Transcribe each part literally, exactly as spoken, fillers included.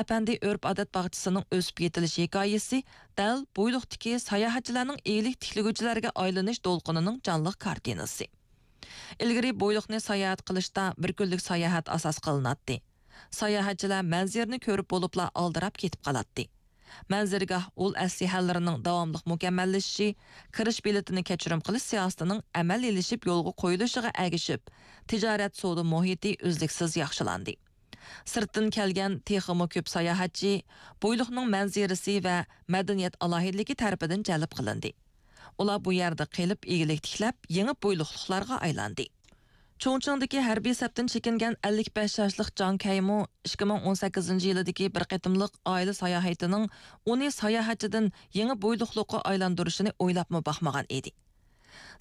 ئەپەندى ئۆرپ-ئادەت باغچىسىنىڭ ئۆسۈپ يېتىلىش ھېكايىسى دەل بويلۇقتىكى ساياھەتچىلەرنىڭ ئىگىلىك تىكلىگۈچىلەرگە ئايلىنىش دولقۇنىنىڭ جانلىق كارتىنىسى. ئىلگىرى بويلۇقنى ساياھەت قىلىشتا بىر كۈنلۈك ساياھەت ئاساس قىلىناتتى. ساياھەتچىلەر مەنزىرىنى كۆرۈپ بولۇپلا ئالدىراپ كېتىپ قالاتتى. مەنزىرىگاھ ئۇل ئەسلىھەلىرىنىڭ داۋاملىق مۇكەممەللىشىشى، كىرىش بېلىتىنى كەچۈرۈم قىلىش سىياسىتىنىڭ ئەمەلىيلىشىپ يولغا قويۇلۇشىغا ئەگىشىپ، تىجارەت سودا مۇھىتى ئۈزلۈكسىز ياخشىلاندى. سىرتتىن كەلگەن تېخىمۇ كۆپ ساياھەتچى بويلۇقنىڭ مەنزىرىسى ۋە مەدەنىيەت ئالاھىدىلىكى تەرىپىدىن جەلپ قىلىندى. ئۇلار بۇ يەردە قېلىپ، ئىگىلىك تىكلەپ، يېڭى بويلۇقلۇقلارغا ئايلاندى. چۇڭچىڭدىكى ھەربىي سەپتىن چېكىنگەن ئەللىك بەش ياشلىق جاڭ كەيمۇ ئىككى مىڭ ئون سەككىزىنچى يىلىدىكى بىر قېتىملىق ئائىلە ساياھىتىنىڭ ئۇنى ساياھەتچىدىن يېڭى بويلۇقلۇققا ئايلاندۇرۇشىنى ئويلاپمۇ باقمىغان ئىدى.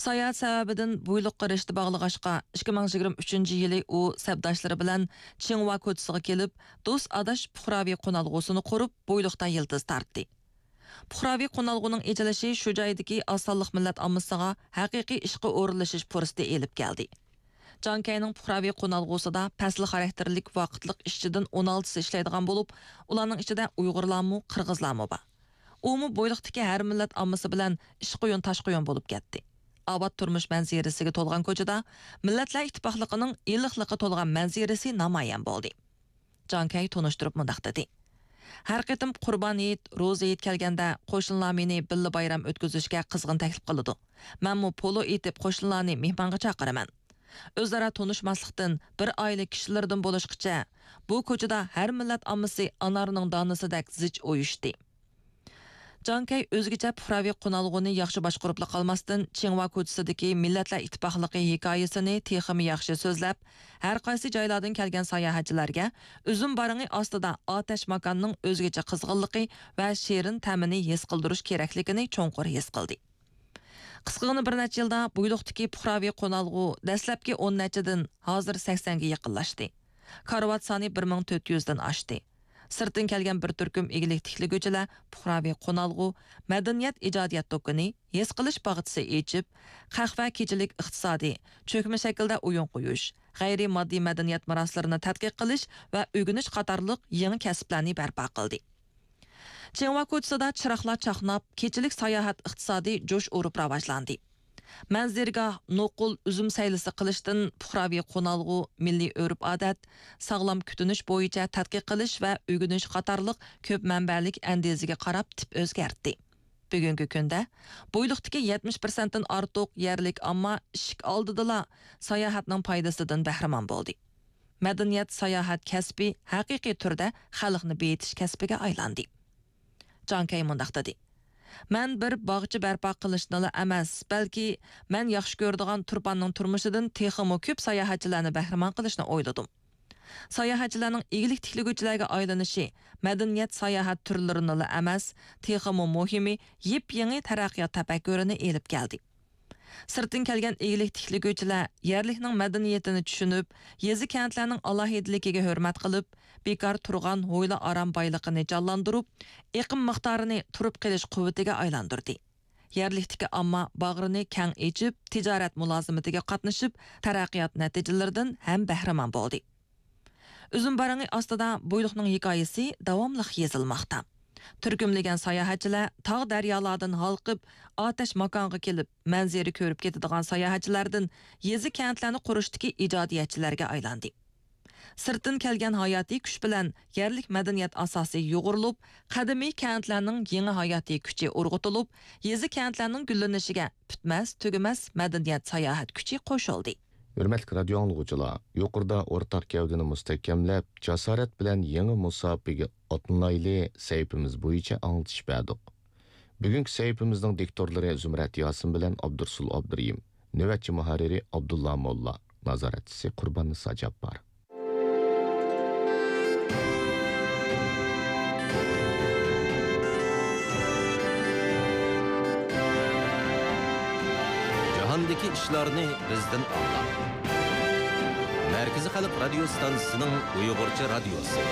ساياھەت سەۋەبىدىن بويلۇققا رىشتە باغلىغاچقا، ئىككى مىڭ يىگىرمە ئۈچىنچى يىلى ئۇ سەپداشلىرى بىلەن چىڭۋا كوچىسىغا كېلىپ، دوست ئاداش پۇقراۋى قونالغۇسىنى قۇرۇپ، بويلۇقتا يىلتىز تارتتى. پۇقراۋى قونالغۇنىڭ ئېچىلىشى شۇ جايدىكى ئاز سانلىق مىللەت ئاممىسىغا ھەقىقىي ئىشقا ئورۇنلىشىش پۇرسىتى ئېلىپ كەلدى. جاڭ كەينىڭ پۇقراۋى قونالغۇسىدا پەسىل خاراكتېرلىك ۋاقىتلىق ئىشچىدىن ئون ئالتىسى ئىشلەيدىغان بولۇپ، ئۇلارنىڭ ئىچىدە ئۇيغۇرلارمۇ، قىرغىزلارمۇ بار. ئۇمۇ بويلۇقتىكى ھەر مىللەت ئاممىسى بىلەن ئىشقۇيۇن تاشقۇيۇن بولۇپ كەتتى. ئاۋات تۇرمۇش مەنزىرىسىگە تولغان كوچىدا مىللەتلەر ئىتتىپاقلىقىنىڭ ئىللىقلىقى تولغان مەنزىرىسى نامايان بولدى. جاڭ كەي تونۇشتۇرۇپ مۇنداق دېدى: ھەر قېتىم قۇربان ھېيت، روزا ھېيت كەلگەندە، قوشنىلار مېنى بىللە بايرام ئۆتكۈزۈشكە قىزغىن تەكلىپ قىلىدۇ. مەنمۇ پولو ئېتىپ، قوشنىلارنى مېھمانغا چاقىرىمەن. ئۆزئارا تونۇشماسلىقتىن، بىر ئائىلە كىشىلىرىدىن بولۇشقىچە، بۇ كوچىدا ھەر مىللەت ئاممىسى ئانارنىڭ دانىسىدەك زىچ ئۇيۇشتى. جاڭ كەي ئۆزگىچە پۇقراۋى قونالغۇنى ياخشى باشقۇرۇپلا قالماستىن، چىڭۋا كوچىسىدىكى مىللەتلەر ئىتتىپاقلىقى ھېكايىسىنى تېخىمۇ ياخشى سۆزلەپ، ھەر قايسى جايلاردىن كەلگەن ساياھەتچىلەرگە ئۈزۈم بارىڭى ئاستىدا ئاتەش ماكاننىڭ ئۆزگىچە قىزغىنلىقى ۋە شېرىن تەمىنى ھېس قىلدۇرۇش كېرەكلىكىنى چوڭقۇر ھېس قىلدى. قىسقىغىنە بىر نەچچە يىلدا بويلۇقتىكى پۇقراۋى قونالغۇ دەسلەپكى ئون نەچچىدىن ھازىر سەكسەنگە يېقىنلاشتى. كارىۋات سانى بىر مىڭ تۆت يۈزدىن ئاشتى. سىرتتىن كەلگەن بىر تۈركۈم ئىگىلىك تىكلىگۈچىلەر پۇقراۋى قونالغۇ، مەدەنىيەت ئىجادىيەت دۇكىنى، ھېس قىلىش باغچىسى ئېچىپ، قەھۋە كېچىلىك ئىقتىسادى، چۆكمە شەكىلدە ئويۇن قويۇش، غەيرىي ماددىي مەدەنىيەت مىراسلىرىنى تەتقىق قىلىش ۋە ئۆگىنىش قاتارلىق يېڭى كەسىپلەرنى بەرپا قىلدى. چىڭۋا كوچىسىدا چىراغلار چاقناپ، كېچىلىك ساياھەت ئىقتىسادى جۇش ئۇرۇپ راۋاجلاندى. مەنزىرىگاھ، نوقۇل، ئۈزۈم سەيلىسى قىلىشتىن پۇقراۋى قونالغۇ، مىللىي ئۆرپ-ئادەت، ساغلام كۈتۈنۈش بويىچە تەتقىق قىلىش ۋە ئۆگىنىش قاتارلىق كۆپ مەنبەلىك ئەندىزىگە قاراپ تىپ ئۆزگەرتتى. بۈگۈنكى كۈندە بويلۇقتىكى يەتمىش پىرسەنتتىن ئارتۇق يەرلىك ئامما ئىشىك ئالدىدىلا ساياھەتنىڭ پايدىسىدىن بەھرىمەن بولدى. مەدەنىيەت ساياھەت كەسپى ھەقىقىي تۈردە خەلقنى بېيىتىش كەسپىگە ئايلاندى. جاڭ كەي مۇنداق دېدى: مەن بىر باغچە بەرپا قىلىشنىلا ئەمەس، بەلكى مەن ياخشى كۆرىدىغان تۇرپاننىڭ تۇرمۇشىدىن تېخىمۇ كۆپ ساياھەتچىلەرنى بەھرىمەن قىلىشنى ئويلىدىم. ساياھەتچىلەرنىڭ ئىگىلىك تىكلىگۈچىلەرگە ئايلىنىشى مەدەنىيەت ساياھەت تۈرلىرىنىلا ئەمەس، تېخىمۇ مۇھىمى، يېپيېڭى تەرەققىيات تەپەككۇرىنى ئېلىپ كەلدى. سىرتتىن كەلگەن ئىگىلىك تىكلىگۈچىلەر يەرلىكنىڭ مەدەنىيىتىنى چۈشىنىپ، يېزا-كەنتلەرنىڭ ئالاھىدىلىكىگە ھۆرمەت قىلىپ، بىكار تۇرغان ھويلا-ئارام بايلىقىنى جانلاندۇرۇپ، ئېقىم مىقدارىنى تۇرۇپ قېلىش قۇۋۋىتىگە ئايلاندۇردى. يەرلىكتىكى ئامما باغرىنى كەڭ ئېچىپ، تىجارەت مۇلازىمىتىگە قاتنىشىپ، تەرەققىيات نەتىجىلىرىدىن ھەم بەھرىمەن بولدى. ئۈزۈم بارىڭى ئاستىدا بويلۇقنىڭ ھېكايىسى داۋاملىق يېزىلماقتا. تۈركۈملىگەن ساياھەتچىلەر تاغ-دەريالاردىن ھالقىپ، ئاتەش ماكانغا كېلىپ، مەنزىرە كۆرۈپ كېتىدىغان ساياھەتچىلەردىن يېزا-كەنتلەرنى قۇرۇشتىكى ئىجادىيەتچىلەرگە ئايلاندى. سىرتتىن كەلگەن ھاياتىي كۈچ بىلەن يەرلىك مەدەنىيەت ئاساسى يۇغۇرۇلۇپ، قەدىمىي كەنتلەرنىڭ يېڭى ھاياتىي كۈچى ئۇرغۇتۇلۇپ، يېزا-كەنتلەرنىڭ گۈللىنىشىگە پۈتمەس-تۈگىمەس مەدەنىيەت ساياھەت كۈچى قوشۇلدى. ھۆرمەتلىك رادىيو ئاڭلىغۇچىلار، يۇقىرىدا ئورتاق گەۋدىنى مۇستەھكەملەپ، جاسارەت بىلەن يېڭى مۇساپىگە ئاتلىنايلى سەھىپىمىز بويىچە ئاڭلىتىش بەردۇق. بۈگۈنكى سەھىپىمىزنىڭ دىكتورلىرى زۇمرەت ياسىن بىلەن ئابدۇرۇسۇل ئابدۇرېھىم، نۆۋەتچى مۇھەررىرى ئابدۇللا موللا، نازارەتچىسى قۇرباننىسا جاپپار. جاھاندىكى ئىشلارنى بىزدىن ئاڭلاڭ. مەركىزىي خەلق رادىيو ستانسىسىنىڭ ئۇيغۇرچە رادىيوسى.